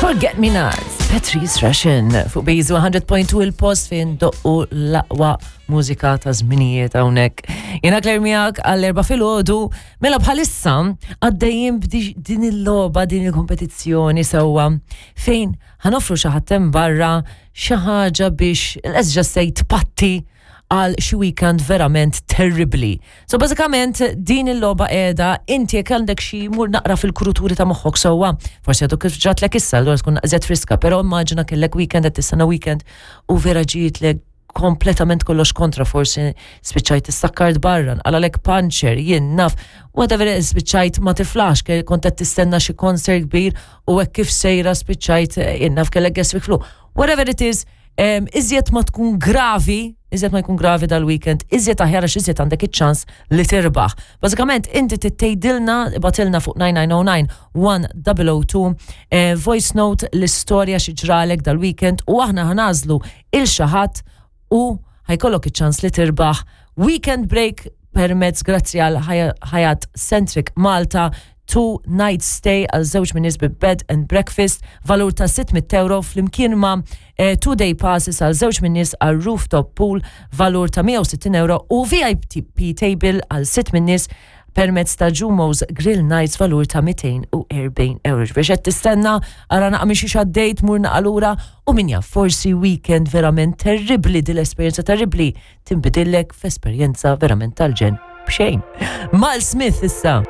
Forget Me Not, Patrice Russian, fuq Bejzu 100.2 il-post fejn doqqu l-aqwa mużika ta' żminijiet hawnhekk. Jiena Claire miegħek għall-erba' filgħodu, mela bħalissa għaddejjin din il-logħba, din il-kompetizzjoni sewwa fejn ħanofru xi ħadd hemm barra xi ħaġa biex let's just say tpatti għal xi weekend verament terribli. So bażikament din il-logħba qiegħda inti jekk għandek xi mur naqra fil-kuruturi ta' moħħok sewwa, forsi għadu kif ġratlek issa, allura tkun naqżet friska, però immaġina kellek weekend qed tistenna weekend u vera ġietlek kompletament kollox kontra, forsi spiċċajt issakkart barra, nqalalek panċer, jien naf, whatever spiċċajt ma tiflax, kont qed tistenna xi concert kbir u hekk kif sejra spiċċajt jien naf kellek gastric flu. Whatever it is, iżjed ma tkun gravi, iżjed ma jkun gravi dal-weekend, iżjed aħjar għax iżjed għandek iċ-ċans li tirbaħ. Bażikament inti tgħidilna batilna fuq 9909 1002 eh, voice note l-istorja xi ġralek dal-weekend u aħna ħanażlu il xi ħadd u ħajkollok iċ-ċans li tirbaħ weekend break permezz grazzi għal Hyatt Centric Malta two night stay għal żewġ min nies bi bed and breakfast valur ta' 600 euro flimkien ma' eh, two day passes għal żewġ min nies għal rooftop pool valur ta' 160 euro u VIP table għal sitt min nies permezz ta' Jumo's Grill Nights valur ta' 240 euro. Biex qed tistenna ara naqa' minn xi għaddejt mur naqa' lura u min jaf forsi weekend verament terribbli din l-esperjenza terribbli tinbidillek f'esperjenza verament tal-ġenn b'xejn. Mal Smith issa.